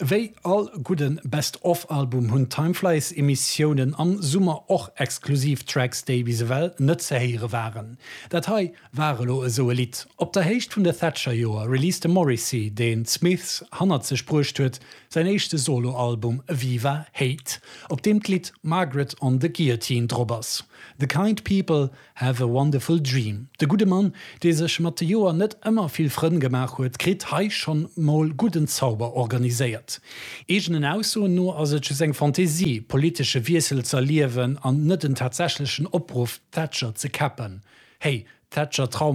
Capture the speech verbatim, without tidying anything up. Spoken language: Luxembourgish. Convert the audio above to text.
Wéi all gudde Best-of-Album hunn Timeflies Emissiounen am Summer och exklusiv Tracks déi bis ewell net ze héiere waren. Dat hei war elo esou e Lidd. Op der Héicht vun de Thatcher-Joer released de Morrissey, deen d'Smiths hannert sech bruecht huet, säin éischte Soloalbum Viva Hate, op deem d'Lidd Margaret on the Guillotine drop ass. The Kind People Have a Wonderful Dream. De gudde Mann, dee sech mat de Joer net ëmmer vill Frënn gemaach huet, kritt hei schonn mol gudden Zauber organiséiert. Eegenen Aussoen no ass et just eng Fantasie, politesche Wiessel z'erliewen an net den tatsächlechen Opruff Thatcher ze käppen. Hey, Thatcher Traum